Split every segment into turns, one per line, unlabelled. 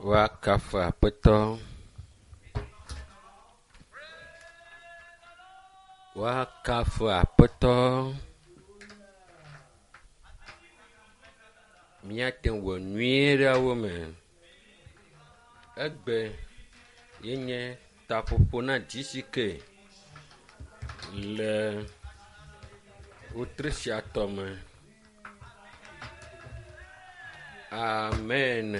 Woakafu Aƒetɔ. Woakafu Aƒetɔ. Míate ŋu wɔ nyuie ɖe wo me. Egbe ye nye taƒoƒo na GCK le wetri sia tɔme. Amen.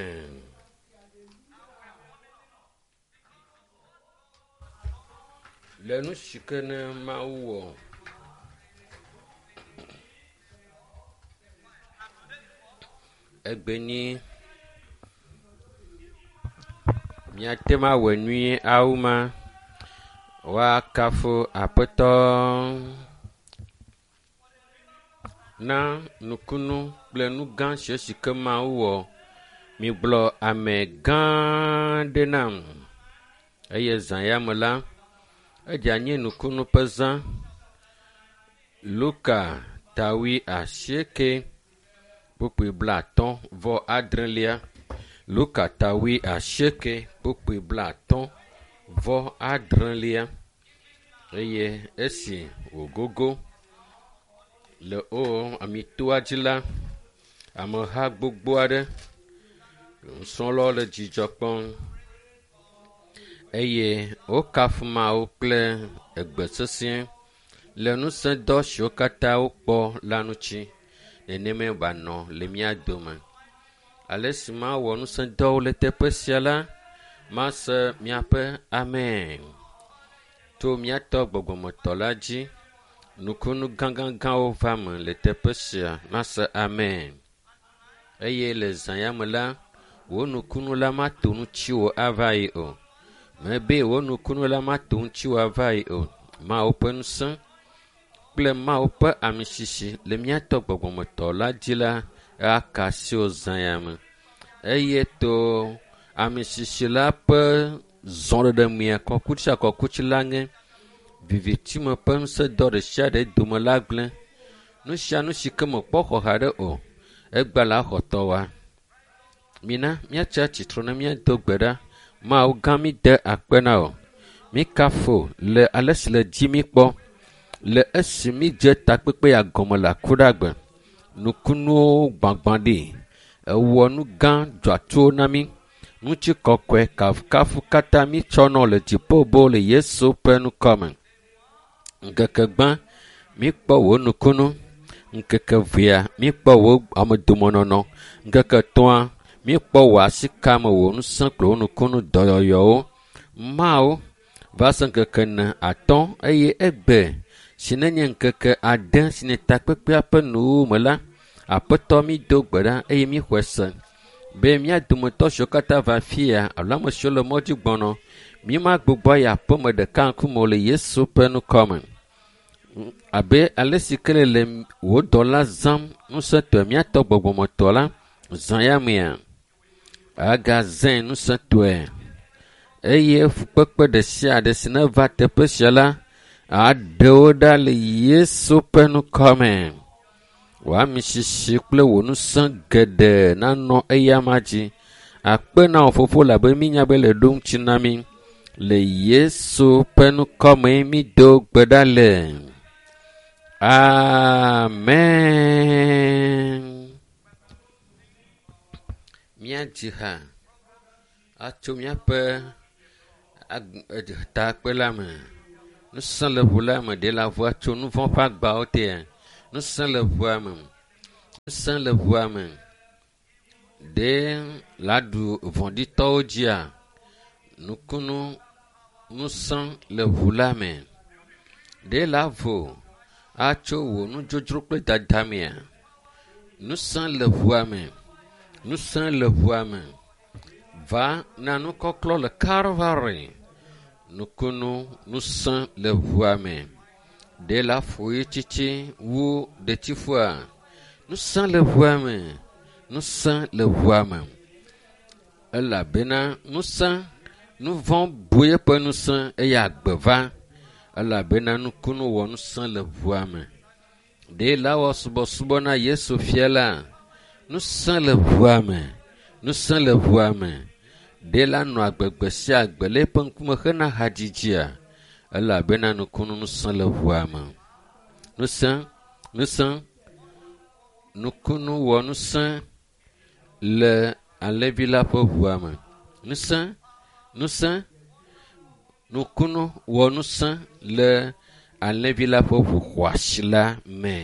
Le nu si ke ne Mawu wɔ. Egbe nyi míate ŋu awɔe nyuie awu ma. Woakafu Aƒetɔ na nukunu kple nu gã si si ke Mawu wɔ. Migblɔ ame gã aɖe nam eye zã ya me la, edze anyi nukunu ƒe zã. Luka tawi asieke kpukpui blatɔ̃ vɔ adrelia. Luka tawi asieke kpukpui blatɔ̃ vɔ adrelia eye esi wògogo le wo amitoa dzi la, ameha gbogbo aɖe nusrɔ̃lawo le dzidzɔ kpɔm eye wokafu Mawu kple egbe sesẽ le ŋusẽdɔ siwo katã wokpɔ la ŋuti. Nenemae wòanɔ le mía dome. Ale si mawɔ ŋusẽdɔwo le teƒe sia la, mase miaƒe amen. To míatɔ gbɔgbɔmetɔ la dzi, nukunu gãgãgãwo va me le teƒe sia mase amen. Eye le zã ya me la, wò nukunu la mato ŋutiwò ava yi o. Mebe wò nukunu la mato ŋutiwò ava yi o. Mawu ƒe ŋusẽ kple Mawu ƒe amisisi le míatɔ gbɔgbɔmetɔ la dzi la aka asi wò zã ya me. Eye to amisisi la ƒe zɔɖeɖe mea kɔkutsi kɔkutsi la ŋe vivitime ƒe ŋusẽdɔ ɖe sia ɖe dome la gblẽ. Nu sia nu si ke mekpɔ xɔ haɖe o, egba la xɔ tɔwoa. Mina míatsi atsitre ne míado gbe ɖa. Mawu gã mi de akpe na wò. Mí kafu le ale si le dzi mí kpɔ. Le esi mídze takpekpe ya gɔme le akuɖagbe. Nukunuwo gbãgbã ɖi. Ewɔ nu gã dzɔatsuwo na mí. Ŋutikɔkɔe kafukafu katã mítsɔ nɔ le dziƒo bo le Yesu ƒe ŋkɔme. Ŋkeke gbã míkpɔ wò nukunu. Ŋkeke evea míkpɔ wò amedomenɔnɔ. Ŋkeke etɔ̃a míkpɔ wò asikame, wò ŋusẽ kple wò nukunu dɔyɔyɔwo. Mawu va se ŋkeke ene atɔ̃ eye egbe si nenye ŋkeke ade si nye takpekpea ƒe nuwuwu me la, Aƒetɔ mído gbe ɖa eye míxɔe se be mía dometɔ siwo katã va afia alo ame siwo le mɔdzi gbɔnɔ, mímagbugbɔ ayi aƒeme ɖeka ŋkume o le Yesu ƒe ŋkɔme. Abe ale si ke le wò dɔla zãm ŋusẽtɔe míatɔ gbɔgbɔmetɔ la zã ya mea, agazãe ŋusẽtɔe eye fukpekpe ɖe sia ɖe si neva teƒe sia la, aɖe wo ɖa le Yesu ƒe ŋkɔme. Wò amisisi kple wò ŋusẽ geɖe nanɔ eyama dzi. Akpe na wò fofo labe mínya be le ɖo ŋuti na mí. Le Yesu ƒe ŋkɔme mído gbe ɖa le. Amen. Míadzi ha atso míaƒe takpe la me. Ŋusẽ le ʋu la me ɖe la ʋua tso nu vɔ̃ ƒe agbawo tea. Ŋusẽ le ʋua me. Ŋusẽ le ʋua me. Ɖe la ɖu vɔ̃ɖitɔwo dzia. Nukunu ŋusẽ le ʋu la me. Ɖe la vo atso wò nudzodzro kple dada mea. Ŋusẽ le ʋua me. Ŋusẽ le ʋua me. Va na nukɔklɔ le Kalvari. Nukunu ŋusẽ le ʋua me. Ɖe la ƒo ɣi tsitsi wu ɖetifua. Ŋusẽ le ʋua me. Ŋusẽ le ʋua me. Elabena ŋusẽ, nu vɔ̃ bu eƒe ŋusẽ eye agbe va. Elabena nukunu wɔ ŋusẽ le ʋua me. Ɖe la wɔ subɔsubɔ na Yesu fia la. Ŋusẽ le ʋua me. Ŋusẽ le ʋua me. Ɖe la nɔ agbe gbe sia gbe le eƒe ŋkume hena hadzidzia? Elabena nukunu ŋusẽ le ʋua me. Ŋusẽ, ŋusẽ, nukunu wɔ ŋusẽ le alẽvi la ƒe ʋua me. Ŋusẽ, ŋusẽ, nukunu wɔ ŋusẽ le alẽvi la ƒe ʋu xɔasi la me.